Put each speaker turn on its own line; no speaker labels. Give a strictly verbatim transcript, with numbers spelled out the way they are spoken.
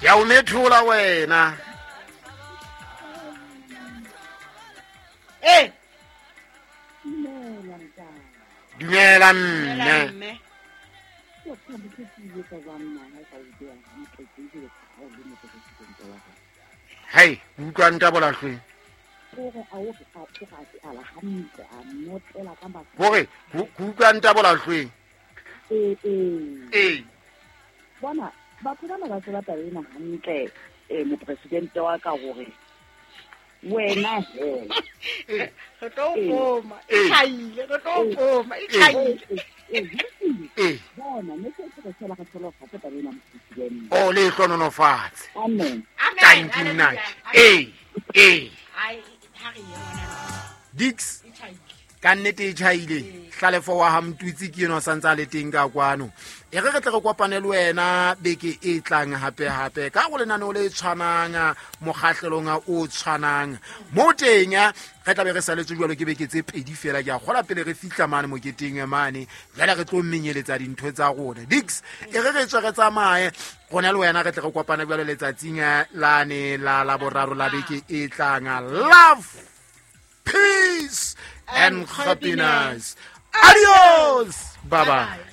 Ke a o methola wena.
Eh.
Dumela mme. Hey, utlwa ntabola hlwe. Hore utlwa ntabola hlwe.
Eh eh.
Eh.
Bona batho bana ba tseba taba ena hantle eh mopresidente wa ka hore wena he
re tlo poma e thaile re tlo poma e thaile
eh
bona ne ke re tsela ka tsolo fa taba ena mopresidente
o le hlononofatse.
Amen.
Thank you nna. Eh eh
ai ha re ye ngwana
Dix ka nnete e tjhaile hlalefo wa ha Mtutsi ke eno santse a le teng ka kwano. E re re tle re kopane le wena beke e tlang hape hape ka go lenaneo le tshwanang mokgahlelong o tshwanang mo teng re tla be re saletse jwalo ke beke tse pedi fela ke a kgola pele re fihla mane moketeng mane jwale re tlo menyeletsa dintho tsa rona. Dix e re re tswe re tsamaye rona le wena re tle re kopane jwalo letsatsing lane la la boraro la beke e tlang. Love, peace and happiness. Adios. Bye bye.